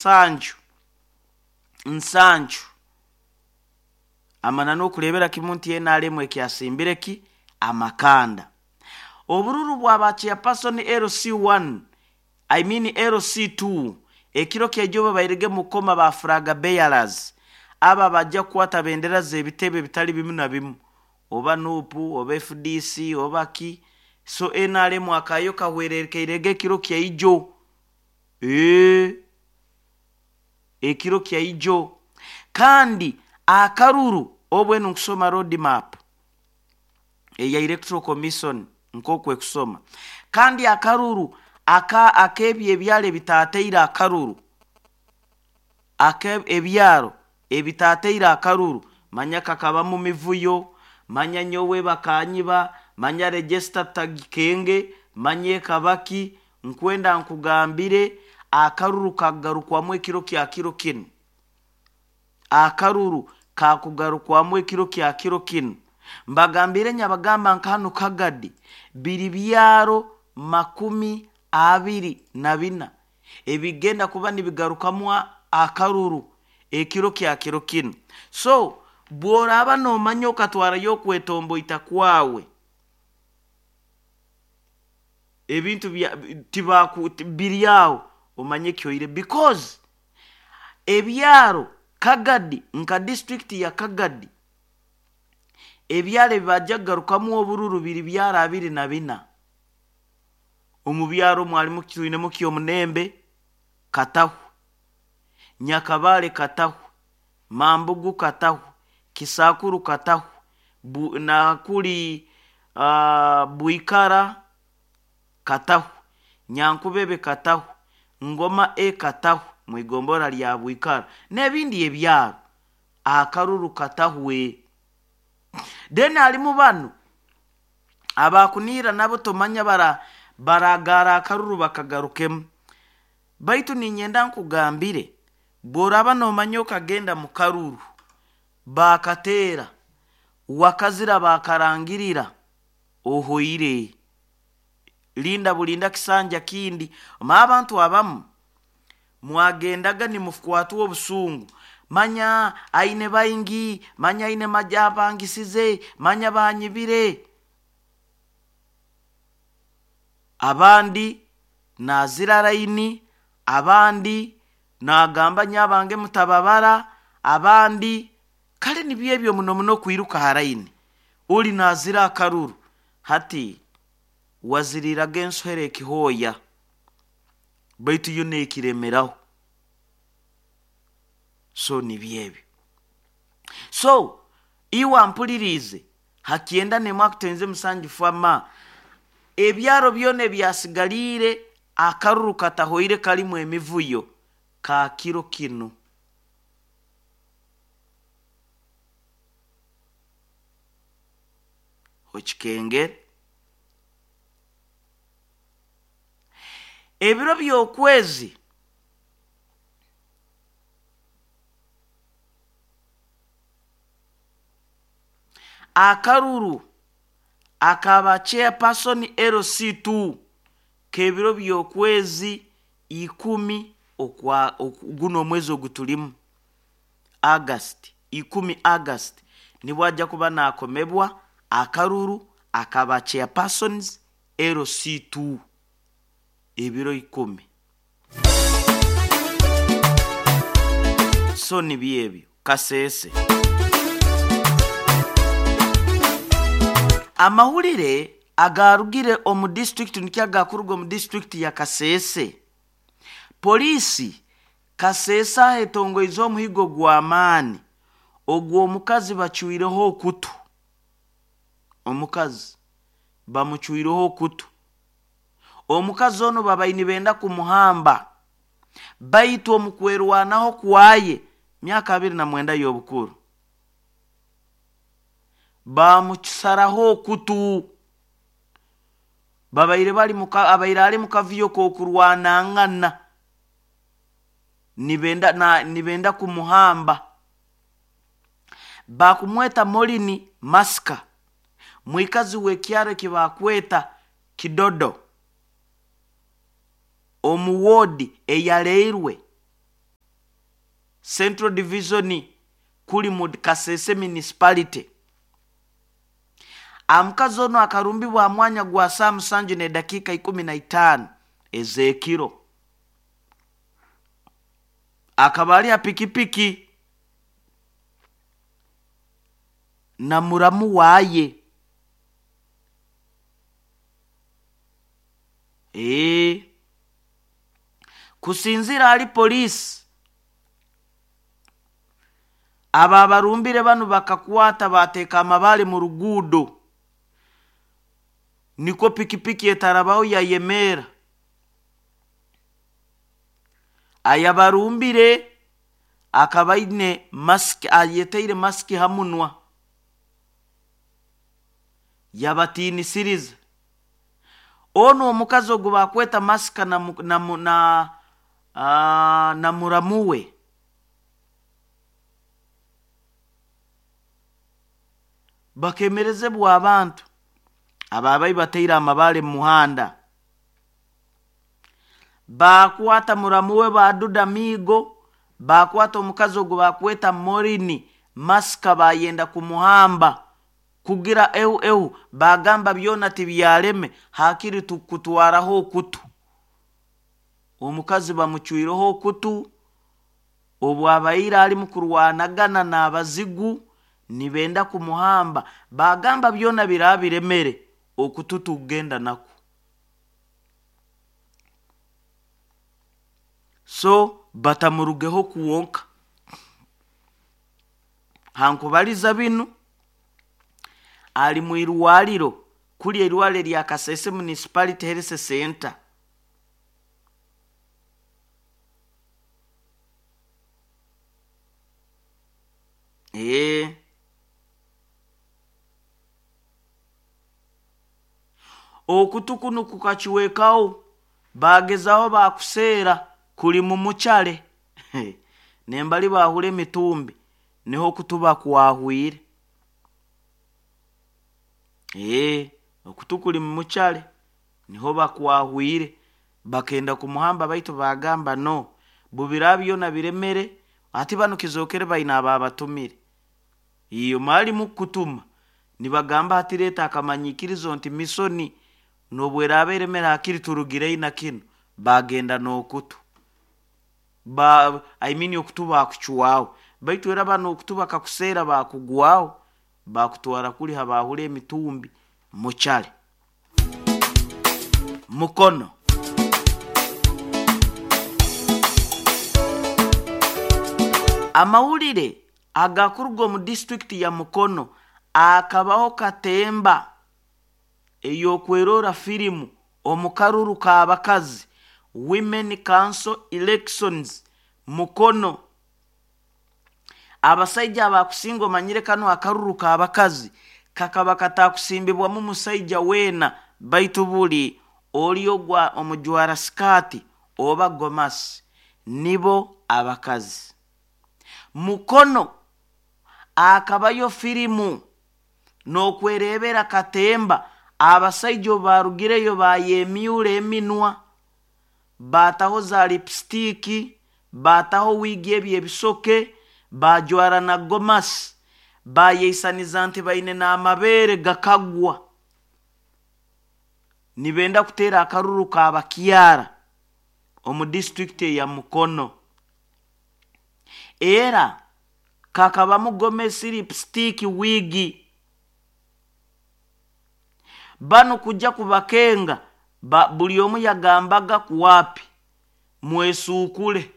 Nsanju, 7. Amananu okureebera kimu nti NRM ekyasimbire ki amakanda. Obururu bwa ba chairperson LC1, I mean LC2, ekiro kyaijo babairege mukoma ba flag bearers, aba bajja kukwata bendera z'ebitebe bitali bimu na bimu, oba NUP oba FDC oba ki. So NRM akayo kahwerekeirege ekiro kyaijo. Ekiro kyaijo. Kandi akaruru obwe nkusoma road map eya Electoral Commission nk'oku ekusoma. Kandi akaruru aka ak'ebyo ebyaro ebitateire akaruru, aka ebyaro ebitateire akaruru, manya kakabamu mivuyo, manya nyowe bakanyiba, manya register tagikenge, manya ekabaki, nkwenda nkugambire akaruru kagarukwamu ekiro kya kiro kinu. Akaruru kakugarukwamu ekiro kya kiro kinu. Mbagambire nyabagamba nka hanu Kagadi biri byaro 24 ebigenda kuba nibigarukamu akaruru ekiro kya kiro kinu. So bw'oraaba noomanya okatwarayo okwetomboita kwawe, ebintu tibaku biri aho, omanye kihoire, because ebyaro Kagadi nka disitulikiti ya Kagadi ebyaro ebibajja kugarukamu obururu biri byaro 24. Omu byaro mwalimu twinemu Kyomunembe Katahwe, Nyakabale Katahwe, Mambugu Katahwe, Kisakuru Katahwe, nakuri Bwikara Katahwe, Nyankubebe Katahwe, Ngoma E Katahwe mwigombora lya Bwikara n'ebindi ebyaro. Akaruru Katahwe. Then halimu bano abakuniira nabo tomanya baragara akaruru bakagarukemu. Baitu ninyenda nkugambire bw'oraba noomanya okagenda mu karuru bakateera wakazira bakarangirira ohoire, linda bulinda kisanja kindi. Ma abantu abamu mwagendaga nimukwatwa obusungu, manya aine baingi, manya aine maja abangisize, manya banyibire. Abandi nazira raini, abandi nagamba nyabange mutababara, abandi kale nibyo ebyo muno muno kwiruka ha raini uli nazira akaruru. Hati waziriraga ensohera ekihooya, baitu yo neekiremeraho. So nibyo ebyo. So iwe ampuliriize ha 91 7 fama, ebyaro byona ebyasigaliire akaruru katahoire kalimu emivuyo ka kiro kinu. Okikengere. Ebiro by'okwezi akaruru akaba chairperson LC2 k'ebiro by'okwezi 10 okwa guno omwezi ogutulimu August, 10 August nibwo ajja kuba nakomebwa akaruru akaba chairpersons LC2 ebiro 10. So nibyo ebyo Kasese. Amahulire agarugire omu district nikyo agakuruga omu district ya Kasese. Polisi Kasese ahetongoize omuhigo gw'amaani ogw'omukazi bacwireho okutu. Omukazi bamucwireho okutu. Omukazi ono babaire nibenda kumuhamba, baitu omu kwerwanaho kwaye myaka 29 y'obukuru bamucusaraho okutu. Babaire bali muka, abaire ali mukavuyo k'okurwanangana, nibenda kumuhamba. Bakumweta Morini Maska, mwikazi w'ekyaro ekibakweta Kidodo omu wodi eyaleirwe. Central Division kuli mu Kasese Municipality. Omukazi onu akarumbibwa ha mwanya gwa saa 7 n'edakiika 15 ez'ekiro. Akaba ali ha pikipiki na muramu waye. Kusinzira hali poliisi, aba abarumbire banu bakakwata bateeka amabaale mu ruguudo, nikwo pikipiki etarabaho yayemeera. Ayabarumbire akaba aine masiki, ayetaire masiki ha munwa, yabatiinisiriza. Onu omukazi ogu bakweta masika na muramu we bakemerezebwa abantu ababayi bataire amabaale mu muhanda, bakwata muramu we baduda miigo, bakwata omukazi ogu bakweta Morini masika bayenda kumuhamba kugira ehu ehu, bagamba byona tibyaleme hakiri tukutwaraho okutu. Omukazi bamucwireho okutu obu abaire alimu kurwanagana n'abazigu nibenda kumuhamba, bagamba byona birabiremere okutu tugenda nako. So batamurugeho kuwonka. Hankubaliza binu ali mu irwaliro kuli eirwaliro lya Kasese Municipality Health Center. Okutu kunu kukakiwekaho, bagezaho bakuseera kuli mu mukyale. Nembali bahura emitumbi niho okutu bakwahwire. Okutu kuli mu mukyale niho bakwahwire, bakenda kumuhamba baitu bagamba no, bubira byona biremere, ati banu kizokere baina ababatumire. Iyo mwalimu kutuma nibagamba ati leta akamanyikirizo nti misoni nobweraba eremere hakiri turugire na kino, bagenda n'okutu. I mean okutu bakuchwaho, baitu era bano okutu bakakuseera bakugwaho, bakutwara kuli habahura emitumbi mukyale. Mukono. Amawulire agakuruga omu disitulikiti ya Mukono akabaho katemba ey'okwerora firimu omu karuru k'abakazi Women Council Elections Mukono. Abasaija abakusinga omanyire kanu akaruru k'abakazi kakaba katakusimbibwamu musaija weena, baitu buli oli ogwa omujwara sikaati oba gomasi nibo abakazi. Mukono akabayo firimu n'okwerebera katemba abasaija obu barugireyo bayemyura eminwa, bataho za lipstick, bataho wiigi ebi ebisoke, bajwara na gomasi, bayeisaniza nti baine n'amabeere gakagwa, nibenda kuteera akaruru k'abakyara omu disitulikiti eya Mukono. Era kakabamu gomesi, lipstick, wiigi. Banu kujja kubakenga buli omu yagambaga kuwapi mwesuukule.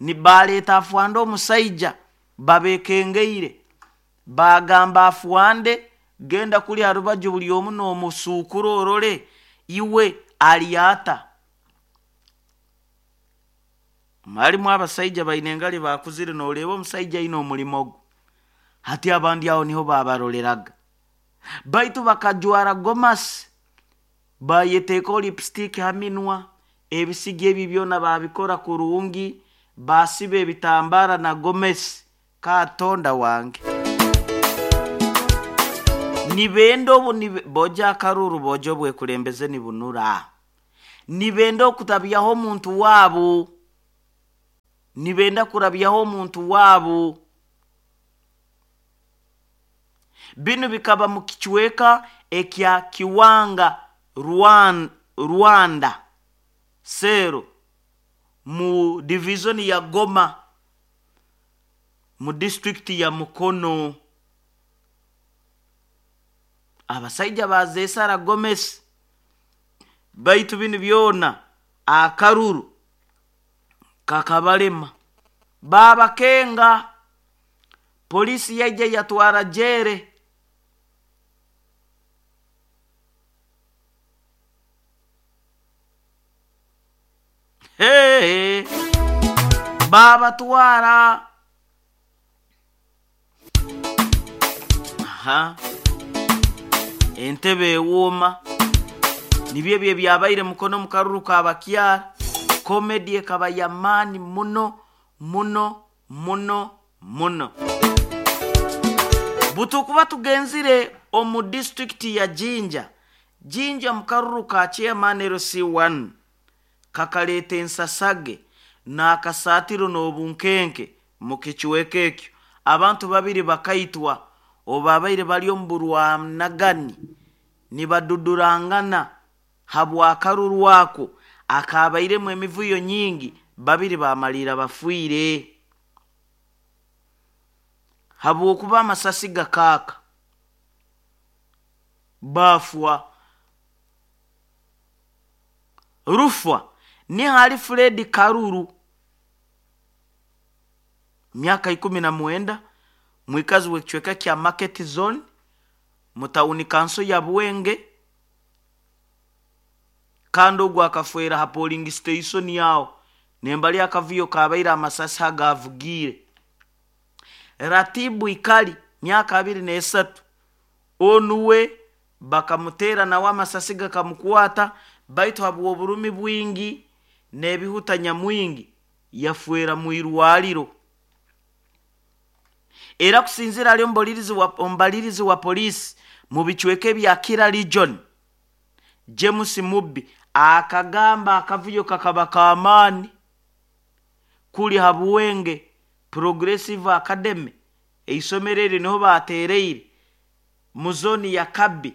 Ni baleeta afwande omusaija babekengeire, bagamba afwande genda kuli harubaju buli omu n'omusuukura orole iwe alyata. Halimu abasaija baine engali bakuzire noreeba omusaija aine omulimo gwe, hati abandi aho niho babaroreraga. Baitu bakajwara gomasi, bayeteekaho lipstick ha minwa, ebisigi ebi byona babikora kurungi, basiba ebitambara na gomesi. Katonda wange, nibenda obu boja akaruru boja obwekulembeze nibunura, nibenda okutabyaho omuntu waabo. Nibenda kurabyaho omuntu waabo. Binu bikaba mu kicweka ekya Kiwanga Rwanda Sero mu divizoni ya Goma mu disitulikiti ya Mukono. Abasaija bazeesara gomesi, baitu binu byona akaruru kakabalema. Baabakenga, poliisi yaija yatwara jere. Hey, baabatwara. Aha. Entebe ewooma. Nibyo ebyo ebyabaire Mukono mu karuru ka bakyara. Comedy ekaba y'amaani muno muno muno muno. Butukuba tugenzire omu disitulikiti ya Jinja. Jinja mu karuru ka chairman LC1 kakaleeta ensasage n'akasaatiro n'obunkenke mu kicweka ekyo. Abantu babiri bakaitwa obu babaire bari omu burwanagani nibadudurangana habw'akaruru ako akabairemu emivuyo nyingi, babiri bamaliira bafiire habwokuba amasasi gakaaka baafwa. Rufa ni hali Fred Karuru, myaka 19, mwikazi w'ekicweka kya Market Zone mu tawuni kanso ya Bwenge, kandi ogwo akafwera ha polling station yaho nembali akavuyo kabaire amasasi hagavugiire. Ratibu Ikali, myaka 23, onuwe bakamuteera nawe amasasi gakamukwata, baitu habw'oburumi bwingi n'ebihuta nyamwingi yafwera mu irwaliro. Era kusinzira ali omubalirizi wa poliisi mu bicweka ebya Kira Region James Mubbi akagamba akavuyo kakaba k'amaani kuli ha Buwenge Progressive Academy, eisomero eri niho baateereire mu zooni ya Kabi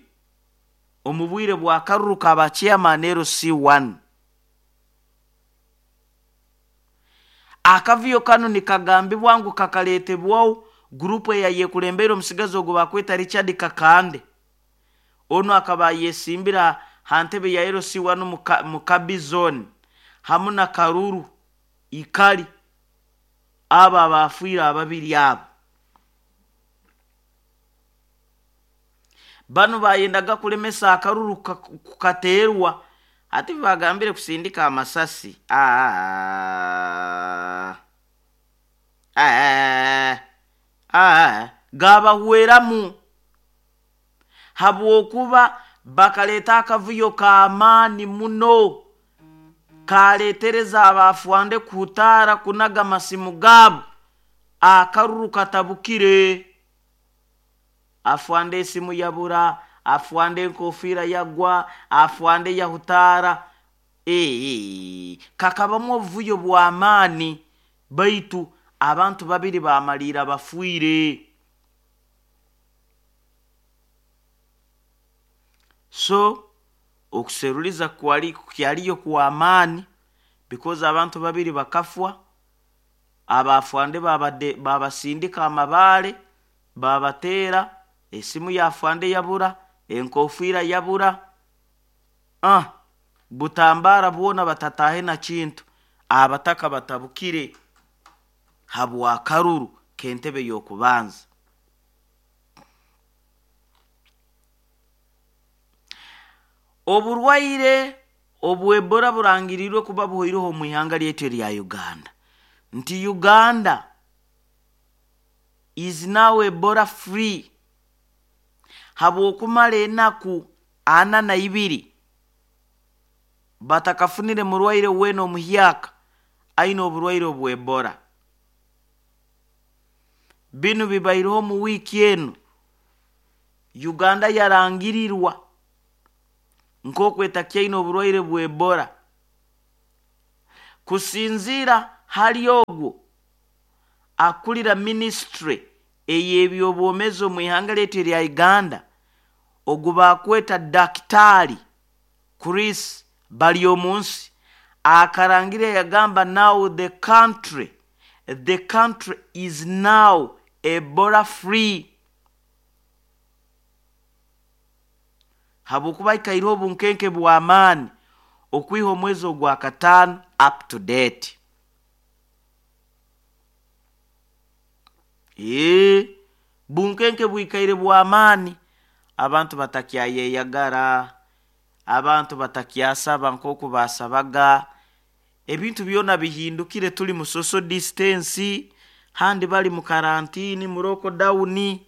omu bwire bwa karuru ka ba chairman LC1. Akavuyo kanu nikagambibwa ngu kakaleetebwaho gurupu eyayekulembere omusigazi ogwo bakweta Richard Kakande. Onu akaba ayesimbira ha ntebe ya LC1 mu Kabi zone hamu na Karuru Ikali, abo abafiire ababiri abo. Banu bayendaga kulemesa akaruru kukateerwa, ati bagambire kusindika amasasi. Gabahweramu habwokuba bakaleeta akavuyo k'amaani muno kaleetereza abafwande kuhutaara kunaga amasimu gaabo. Akaruru katabukire, afwande esimu yabura, afwande enkofiira yagwa, afwande yahutaara. Kakabamu obuvuyo bw'amaani, baitu abantu babiri bamaliira bafiire. So okuseruliza kyaliyo kw'amaani because abantu babiri bakafwa, abafwande babasindika amabaale babateera, esimu yafwande yabura, enkofiira yabura, butambara bwona batatahe na kintu. Abataka batabukire habw'akaruru k'entebe y'okubanza. Oburwaire obw'Ebola burangirirwe kuba buhoireho omu ihanga lyaitu erya Uganda. Nti Uganda is now Ebola free habw'okumara enaku 42 batakafunire murwaire weena omuhyaka aine oburwaire obw'Ebola. Binu bibaireho mu wiiki enu. Uganda yarangirirwa nk'oku etakyaine oburwaire bw'Ebola. Kusinziira Hali ogwo akulira minisitule ey'ebyobwomeezi omu ihanga lyaitu erya Uganda, ogu bakweta Dakitaali Chris Baryomunsi, akarangira yagamba, "Now the country is now Ebola free," habwokuba aikaireho obunkenke bw'amaani okwiha omwezi ogwa 5 up to date. Ee, bunkenke bwikaire bw'amaani, abantu batakyayeyagara, abantu batakyasaba nk'oku basabaga, ebintu byona bihindukire, tuli mu social distance, handi bali mu karantini, mu lockdown.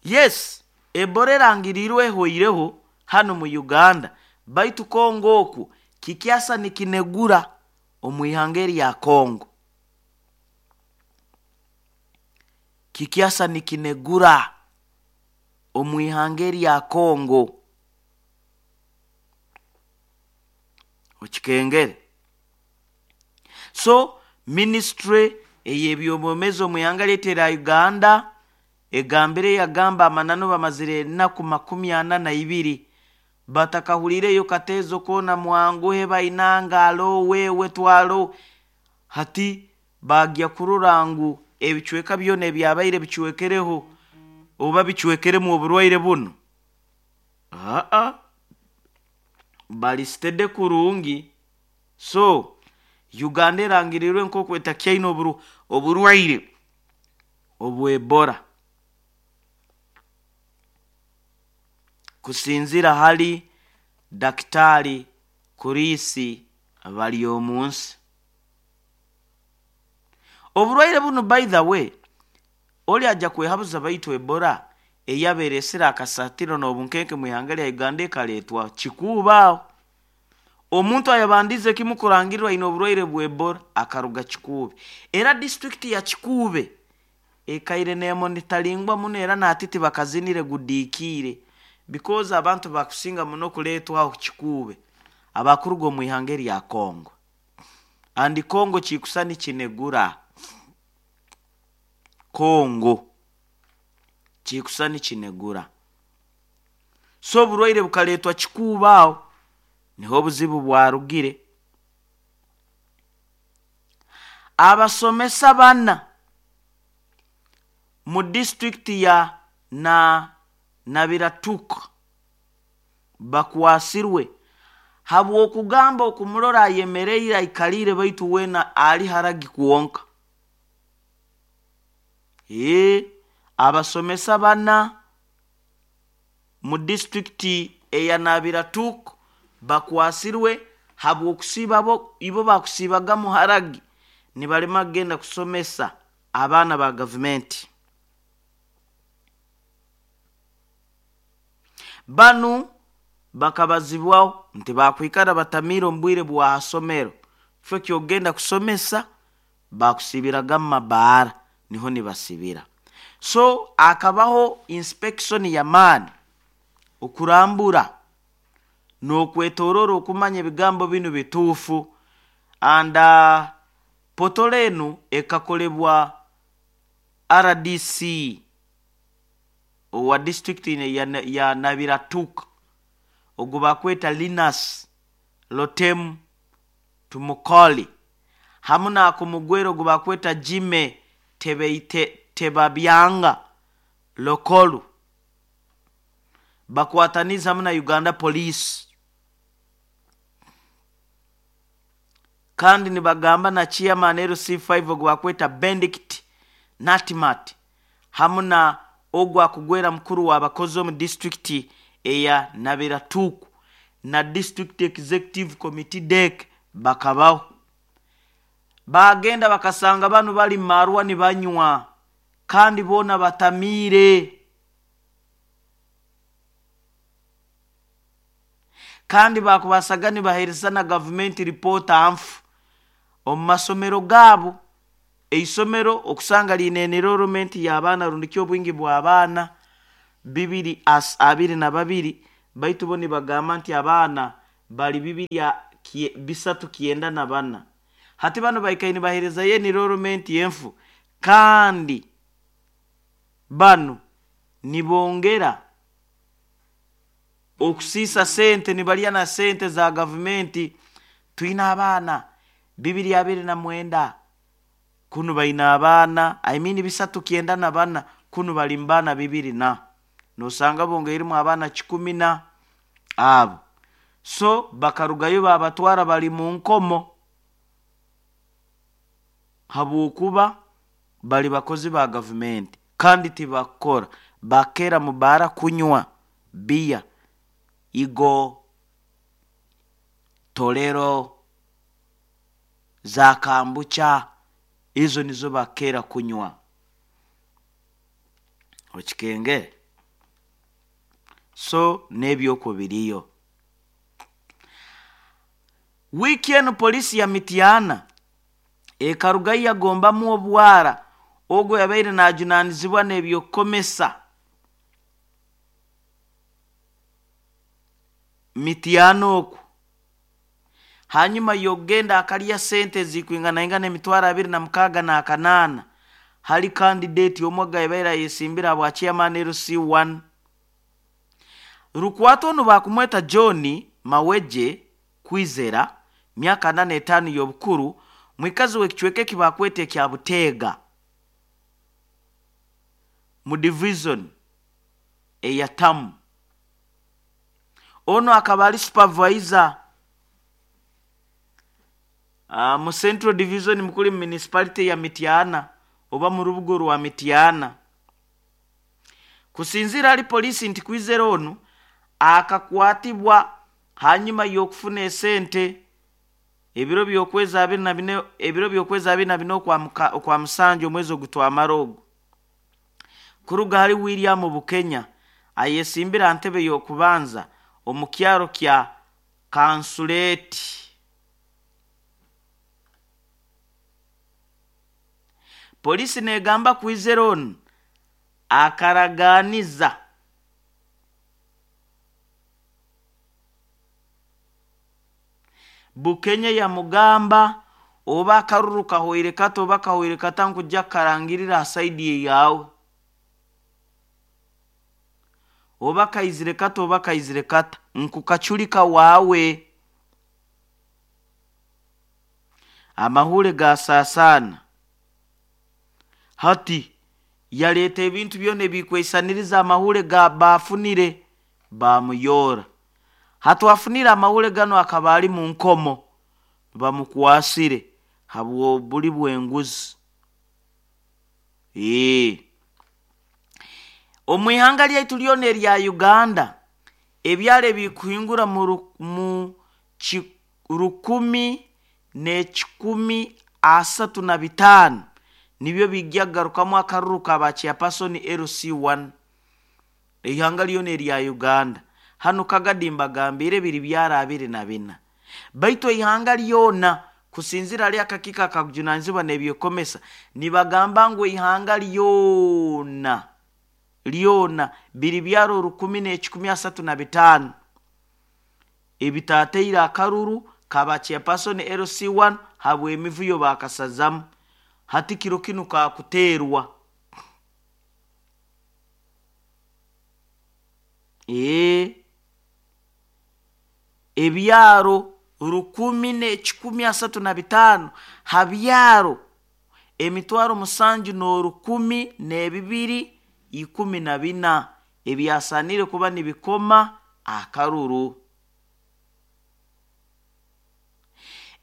Yes, Ebola erangiriirwe ehweireho hanu mu Uganda, baitu Kongo okwo kikyasa nikinegura omu ihanga erya Kongo, kikyasa nikinegura omu ihanga erya Kongo. Okikengere. So minisitule ey'ebyobwomeezi omu ihanga lyaitu erya Uganda egambire, yagamba amananu, bamazire enaku 42 batakahulireyo kateezo koona, mwanguhe bainanga alo wewe twalo. Hati bagya kurora ngu ebicweka byona ebyabaire bicwekereho oba bicwekeremu oburwaire bunu, aa bali steady kurungi. So Uganda erangirirwe nk'oku etakyaine oburwaire obw'Ebola kusinzira hali Dakitaali Chris Baryomunsi. Oburwaire bunu, by the way, oli ajja kwehabuza, baitu Ebola eyabeeresire akasatiro n'obunkenke mu ihanga lya Uganda ekaleetwa kikuubaaho. Omuntu ayabandize kimu kurangirirwa aine oburwaire bwa Ebola akaruga Kikuube, era disitulikiti ya Kikuube ekaire nemonitaringwa muno, era natiti bakazinire gudiikiire, because abantu bakusinga muno kuleetwaho Kikuube abakuruga omu ihanga erya Congo, and Congo kikusa nikinegura, Congo kikusa nikinegura. So oburwaire bukaleetwa Kikuube, aho niho obuzibu bwarugire. Abasomesa bana mu disitulikiti ya na Nabiratuk bakwasirwe habw'okugamba okumurora ayemereire aikaliire, baitu weena ali haragi kwonka. Ee, abasomesa bana mu disitulikiti eya Nabiratuk bakwasirwe habw'okusiiba bo ibo bakusiibaga muharagi nibalema kugenda kusomesa abaana ba gavumenti. Banu bakabazibwaho nti bakwikara batamiire omu bwire bwa hasomero, kifo kyokugenda kusomesa bakusibiraga mu mabaara, niho nibasibira. So akabaho inspection y'amaani okurambura n'okwetorora okumanya ebigambo binu bituufu, and potolo enu ekakolebwa RDC owa disitulikiti ya Nabiratuk, ogu bakweta Linus Lotem Tumukoli, hamu n'akumugwera ogu bakweta Jime Tebabyanga Lokolu, bakwataniza hamu na Uganda Police, kandi nibagamba na chairman LC5 ogu bakweta Benedict Natimat, hamu na ogu akugwera mukuru w'abakozi omu disitulikiti eya Nabiratuku na district executive committee DEC, bakabaho bagenda bakasanga banu bali marwa nibanywa kandi boona batamiire, kandi bakubasaga nibaheereza na gavumenti ripoota nfu omu masomero gaabo. Eisomero okusanga liine enrollment y'abaana rundi obwingi bw'abaana 222, baitu bo nibagamba nti abaana Bali bibiri 394. Hati banu baikaire nibaheerezayo enrollment enfu, kandi banu nibongera okusiisa sente, nibalya na sente za gavumenti. Twine abaana 229, kunu baine abaana, I mean 394, kunu bali mu baana bibiri na nosanga bongeiremu abaana kikumi na abo. So bakarugayo babatwara bali mu nkomo habwokuba bali bakozi ba gavumenti kandi tibakukora. Bakera mu baara kunywa biya, igo, tolero, za kambucha, ezo nizo bakera kunywa. Okikengere? So n'ebyokwo biriyo. Wiiki enu poliisi ya Mityana ekarugayo yagombamu obwara ogwo yabaire najunaanizibwa n'ebyokukomesa Mityana okwo, hanyuma y'okugenda akalya sente ezikwinganaingana 268 000 hali kandidate omwe ogu yabaire ayesimbire habwa chairman LC1. Rukwata onu bakumweta John Maweje Kwizera, myaka 45 y'obukuru, mwikazi w'ekicweka eki bakweta ekya Buteega mu division eya Tamu. Onu akaba ali supervisor mu Central Division mukuli mu municipality ya Mityana oba mu rubuga orwa Mityana. Kusinziira hali poliisi nti Kwizera onu akakwatibwa hanyuma y'okufuna esente ebiro by'okwezi 24, ebiro by'okwezi 24 okwa musanju omwezi ogutwamara ogu, kuruga hali William Bukenya ayesimbire ha ntebe y'okubanza omu kyaro kya Kansuleti. Poliisi negamba Kwizera onu akaraganiza Bukenya yamugamba oba akaruru kahoire kata oba kahoire kata nkujja kukarangirira ha saidi eyawe, oba kaizire kata oba kaizire kata nkukachulika wawe. Amahule gasasana. Hati yaleeta ebintu byona ebikweisaniriza amahule ga bafunire bamuyora. Hati afunire amahule ganu akaba ali mu nkomo, bamukwasire habw'obuli bw'enguzi. Omu ihanga lyaitu lyona erya Uganda, ebyaro ebikuhingura mu 1,135 nibyo bijja kugarukamu akaruru ka ba chairperson LC1 ihanga lyona erya Uganda. Hanu Kagadi mbagambire biri byaro 24, baitu ihanga lyona kusinzira hali akakiiko akakujunanizibwa n'ebyokukomesa nibagamba ngu ihanga lyona lyona biri byaro 1,135 ebitateire akaruru kaba chairperson LC1 habw'emivuyo bakasazamu. Hati kiro kinu kakuterwa. Ebyaro 1,135 ha byaro 7,012 14 ebyasanire kuba nibikoma akaruru.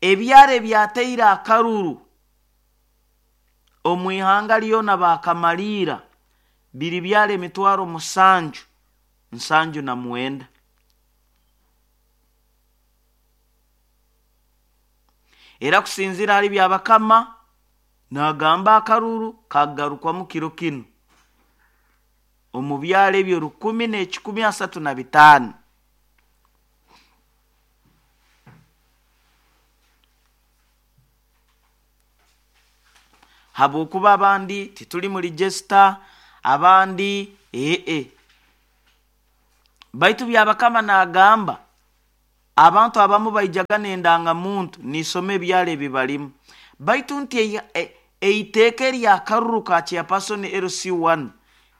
Ebyaro ebyateire akaruru omu ihanga lyona bakamaliira biri byaro 7,079. Era kusinziira hali Byabakama nagamba akaruru kagarukwamu kiro kinu omu byaro ebyo 1,135. Habwokuba abandi tituli mu register, abandi baitu Byabakama nagamba Abantu abamu baijaga n'endangamuntu nisoma ebyaro ebi balimu. Baitu nti eiteeka eryakaruru ka chairperson LC1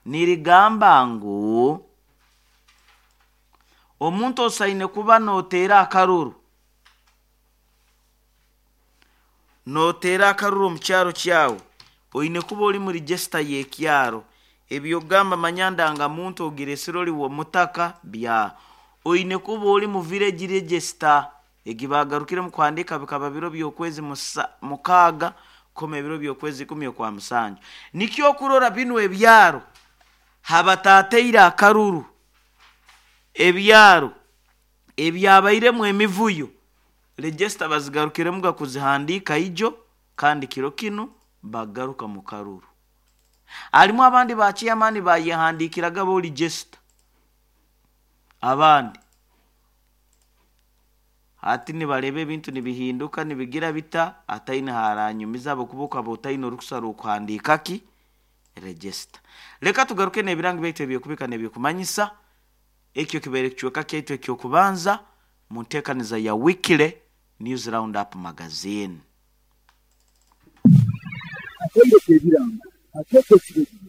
nirigamba ngu omuntu osaine kuba noteera akaruru, noteera akaruru omu kyaro kyawe, oine kuba ori mu register y'ekyaro. Ebyogamba manya ndangamuntu ogiresire ori w'omutaka bya oine kuba ori mu village register egi bagarukiremu kuhandiika bikaba biro by'okwezi 6 koma ebiro by'okwezi 10 okwa 7. Nikyo okurora binu ebyaro habatateire akaruru, ebyaro ebyabairemu emivuyo register bazigarukiremu kuzihandiika ijo, kandi kiro kinu bagaruka mu karuru. Harimu abandi ba chairman bayehandiikiraga bo register, abandi hati nibareba ebintu nibihinduka nibigira bita, ataine haranyumiza ahabwokuba okaba otaine orukusa rw'okuhandiika ki register. Leka tugaruke n'ebirango byaitu ebyokubika n'ebyokumanyisa. Ekyo kibaire kicweka kyaitu eky'okubanza mu nteekaniza ya Weekly News Roundup Magazine. Akaire k'ebirango akeekyo ekiro.